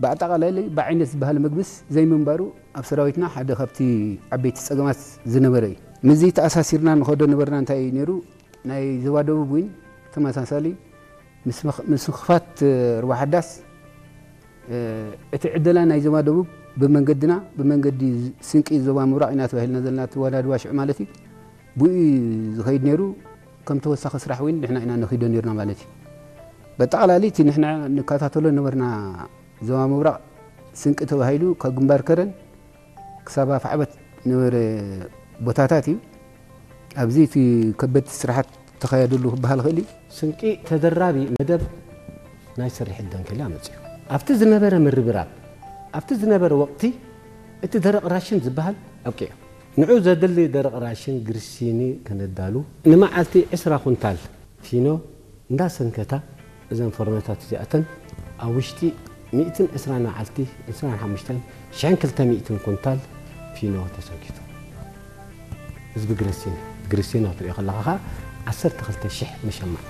ብኣጠቓላሊ ብዓይነት ዝበሃል ምግብስ ዘይምንባሩ ኣብ ሰራዊትና ሓደ ካብቲ ዓበይቲ ጸገማት ዝነበረ እዩ። ምስዚ ተኣሳሲርና ንኸዶ ነበርና እንታይ እዩ ነይሩ? ናይ ዞባ ደቡብ እውን ተመሳሳሊ ምስ ምኽ-፣ ምስ ምኽፋት ሩባ ሓዳስ፣ እ፣ እቲ ዕደላ ናይ ዞባ ደቡብ ብመንገድና፣ ብመንገዲ ስንቂ ዞባ ምብራቕ ኢና ተባሂልና ዘለና፣ እቲ ወዳዲ ዋሽዕ ማለት እዩ። ብኡ እዩ ዝኸይድ ነይሩ። ከም ተወሳኺ ስራሕ እውን ንሕና ኢና ነኺዶ ነይርና ማለት እዩ። በጠቕላሊ እቲ ንሕና ንከታተሎ ነበርና ዞባ ምብራቕ ስንቂ ተባሂሉ ካብ ግንባር ከረን ክሳብ ኣፍዓበት ነበረ ቦታታት እዩ። ኣብዚ እቲ ከበድቲ ስራሓት ተኻየደሉ ክበሃል ይኽእል እዩ። ስንቂ ተደራቢ መደብ ናይ ስርሒት ደንከል ኣመፅኡ። ኣብቲ ዝነበረ ምርብራብ፣ ኣብቲ ዝነበረ ወቕቲ እቲ ደረቕ ራሽን ዝበሃል ኣብቂዑ። ንዑ ዘድሊ ደረቕ ራሽን ግርሲኒ ከነዳሉ፣ ንመዓልቲ ዕስራ ኩንታል ፊኖ እንዳሰንከታ፣ እዘን ፎርኖታት እዚኣተን ኣብ ውሽጢ ሚእትን ዕስራን መዓልቲ፣ ዕስራን ሓሙሽተን ሽሕን ክልተ ሚእትን ኩንታል ፊኖ ተሰንኪቱ። ህዝቢ ግረሲን፣ ግረሲን ክትሪኦ ከለኻ ኸዓ ዓሰርተ ክልተ ሽሕ መሸማዕ።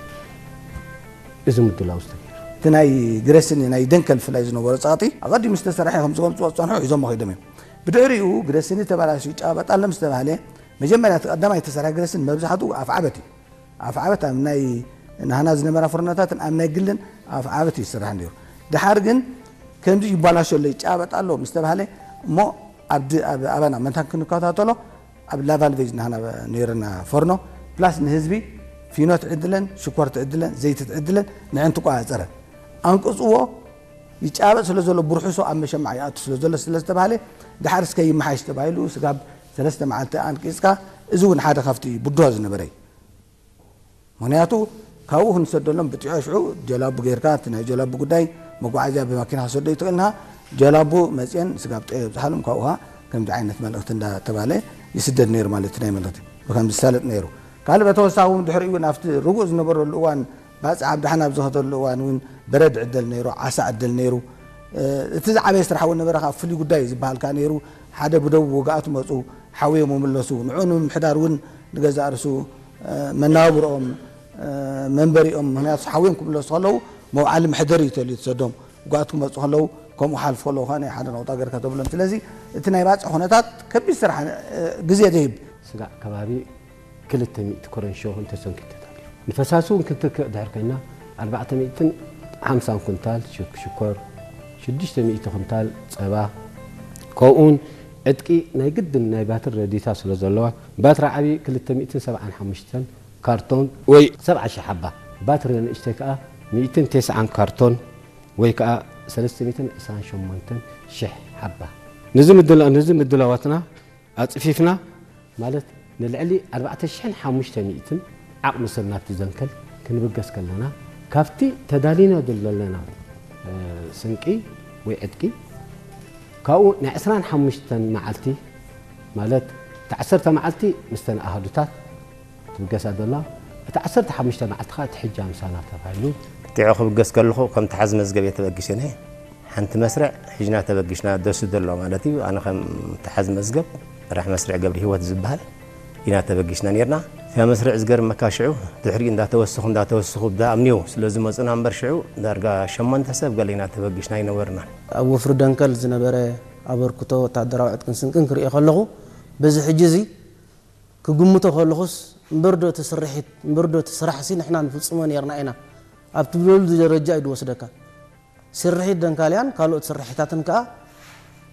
እዚ ምድላው ዝተገይሩ። እቲ ናይ ግረሲን ናይ ደንከል ፍላይ ዝነበሮ ጸቕጢ ኣቐዲሙ ዝተሰርሐ ከም ዝገልጽዎ ዝጸንሑ ሒዞሞ ከይዶም እዮም። ብድሕሪኡ ግረሲን ተበላሽዩ ይጫበጥ ኣሎ ምስ ተባህለ፣ መጀመርያ እቲ ቀዳማይ ዝተሰርሐ ግረሲን መብዛሕትኡ ኣፍዓበት እዩ። ኣፍዓበት ኣብ ናይ ናህና ዝነበራ ፍርኖታትን ኣብ ናይ ግልን ኣፍዓበት እዩ ዝስራሕ ነይሩ። ደሓር ግን ከምዚ ይባላሾ ኣሎ፣ ይጫበጥ ኣሎ ምስ ተባህለ፣ እሞ ኣብ ድ-፣ ኣብ ኣባና መታን ክንከታተሎ ኣብ ላቫልቬጅ ናህና ነይርና ፈርኖ፣ ፕላስ ንህዝቢ ፊኖ ትዕድለን፣ ሽኮር ትዕድለን፣ ዘይቲ ትዕድለን ንዕን ትቆጻጸረን። ኣንቅጽዎ ይጫበጥ ስለ ዘሎ፣ ብርሑሶ ኣብ መሸማዕ ይኣቱ ስለ ዘሎ ስለ ዝተባህለ፣ ደሓር እስከ ይመሓሽ ተባሂሉ ስጋብ ሰለስተ መዓልቲ ኣንቂጽካ፣ እዚ እውን ሓደ ካብቲ ብድሆ ዝነበረ እዩ። ምኽንያቱ ካብኡ ክንሰደሎም ብጥዑ ሽዑ ጀላቡ ጌርካ፣ እቲ ናይ ጀላቡ ጉዳይ መጓዓዝያ ብማኪና ክሰዶ ይትኽእልና፣ ጀላቡ መፅየን ስጋብ ጠዮ ይብዝሓሎም፣ ካብኡ ኸዓ ከምዚ ዓይነት መልእኽቲ እንዳተባለ ይስደድ ነይሩ ማለት እዩ። ናይ መልእኽቲ ብከምዚ ዝሳለጥ ነይሩ። ካልእ በተወሳኺ እውን ድሕሪኡ እውን ኣብቲ ርጉእ ዝነበረሉ እዋን፣ ባፅዕ ኣብ ዳሕና ኣብ ዝኸደሉ እዋን እውን በረድ ዕደል ነይሩ፣ ዓሳ ዕደል ነይሩ። እ፣ እቲ ዝዓበየ ስራሕ እውን ነበረ፣ ካብ ፍሉይ ጉዳይ ዝበሃል ከኣ ነይሩ። ሓደ ብደቡብ ወጋእቱ መፁ፣ ሓውዮም ይምለሱ። ንዑ ንምምሕዳር እውን ንገዛእ ርእሱ፣ እ፣ መናባብርኦም፣ እ፣ መንበሪኦም፣ ምኽንያቱ ሓውዮም ክምለሱ ከለዉ መውዓሊ መሕደሪ እዩ ተልዩ ተሰዶም። ወጋእቱ ክመፁ ከለዉ ከምኡ ሓልፉ ከለዉ ከኣ ናይ ሓደ ነቑጣ ገርካ ተብሎም። ስለዚ እቲ ናይ ባፅዕ ኩነታት ከቢድ ስራሕ፣ እ፣ ግዜ ዝህብ። ስጋዕ ከባቢ ክልተ ሚእቲ ኮረንሾ እውን ተሰንኪቱ ተሪፉ። ንፈሳሲ እውን ክንትክእ ድሕር ኮይና ኣርባዕተ ሚእትን ሓምሳን ኩንታል ሽክ-፣ ሽኮር፣ ሽዱሽተ ሚእቲ ኩንታል ጸባ፣ ከምኡውን ዕጥቂ ናይ ግድን ናይ ባትሪ ረዲታ ስለ ዘለዋ፣ ባትሪ ዓቢ ክልተ ሚእትን ሰብዓን ሓሙሽተን ካርቶን ወይ ሰብዓ ሽሕ ሓባ፣ ባትሪ ንእሽተይ ከኣ ሚእትን ተስዓን ካርቶን ወይ ከኣ ሰለስተ ሚእትን ዕስራን ሸሞንተን ሽሕ ሓባ። ነዚ ምድላ-፣ ነዚ ምድላዋትና ኣጽፊፍና፣ ማለት ንልዕሊ ኣርባዕተ ሽሕን ሓሙሽተ ሚእትን ዓቕሚ ሰብ ናብቲ ዘንከል ክንብገስ ከለና፣ ካብቲ ተዳሊና ዘለና፣ እ፣ ስንቂ ወይ ዕጥቂ፣ ካብኡ ናይ ዕስራን ሓሙሽተን መዓልቲ፣ ማለት እቲ ዓሰርተ መዓልቲ ምስተን ኣሃዱታት ትብገሳ ዘላ፣ እቲ ዓሰርተ ሓሙሽተ መዓልቲ ኸኣ እቲ ሕጃ ምሳና ተባሂሉ። ጥዑ ክብገስ ከለኹ ከም ተሓዝ መዝገብ እየ ተበጊሰ ነየ። ሓንቲ መስርዕ ሒዝና ተበጊስና፣ ደሱ ዘሎ ማለት እዩ። ኣነ ከም ተሓዝ መዝገብ መራሕ መስርዕ ገብረ ህይወት ዝበሃል ኢና ተበጊስና ነርና። እታ መስርዕ ዝገርመካ ሽዑ ድሕሪኡ እንዳተወሰኹ፣ እንዳተወሰኹ ብዳ ኣምንዮ ስለ ዝመጹና እምበር ሽዑ ዳርጋ ሸሞንተ ሰብ ገለ ኢና ተበጊስና ኣይነበርናን። ኣብ ወፍሪ ደንከል ዝነበረ ኣበርክቶ ወታደራዊ ዕጥቅን ስንቅን ክርእዮ ከለኹ፣ በዚ ሕጂ እዚ ክግምቶ ከለኹስ፣ እምበርዶ እቲ ስርሒት፣ እምበርዶ እቲ ስራሕሲ ንሕና ንፍጽሞ ነርና ኢና ኣብ ትብለሉ ደረጃ እዩ ዝወስደካ። ስርሒት ደንካልያን ካልኦት ስርሒታትን ከኣ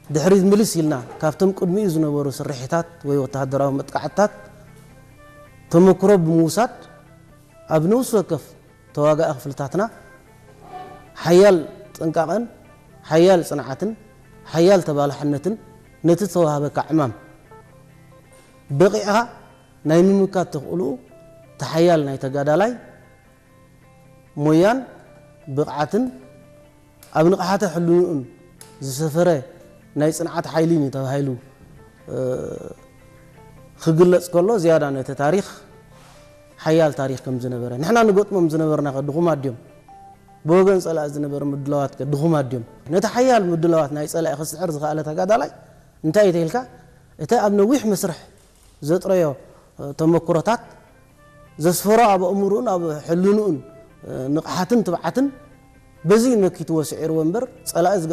ድሕሪት ምልስ ኢልና፣ ካብቶም ቅድሚኡ ዝነበሩ ስርሒታት ወይ ወተሃደራዊ መጥቃዕትታት ተመክሮ ብምውሳድ፣ ኣብ ነፍሲ ወከፍ ተዋጋኢ ክፍልታትና ሓያል ጥንቃቐን ሓያል ጽንዓትን ሓያል ተባላሕነትን ነቲ ዝተዋህበካ ዕማም በቒዕኻ ናይ ምምካት ተኽእልኡ እቲ ሓያል ናይ ተጋዳላይ ሞያን ብቕዓትን ኣብ ንቕሓተ ሕልንኡን ዝሰፈረ ናይ ጽንዓት ሓይሊን እዩ ተባሂሉ፣ እ፣ ክግለጽ ከሎ ዝያዳ ነቲ ታሪኽ ሓያል ታሪኽ ከም ዝነበረ፣ ንሕና ንገጥሞም ዝነበርና ከ ድኹማት ድዮም? ብወገን ጸላኢ ዝነበረ ምድላዋት ከ ድኹማት ድዮም? ነቲ ሓያል ምድላዋት ናይ ጸላኢ ክስዕር ዝኸኣለ ተጋዳላይ እንታይ እዩ ተይልካ? እቲ ኣብ ነዊሕ መስርሕ ዘጥረዮ፣ እ፣ ተመክሮታት ዘስፈሮ ኣብ ኣእምሮኡን ኣብ ሕልንኡን፣ እ፣ ንቕሓትን ትብዓትን በዚ እዩ መኪትዎ ስዒርዎ እምበር፣ ጸላኢ ዝገ-፣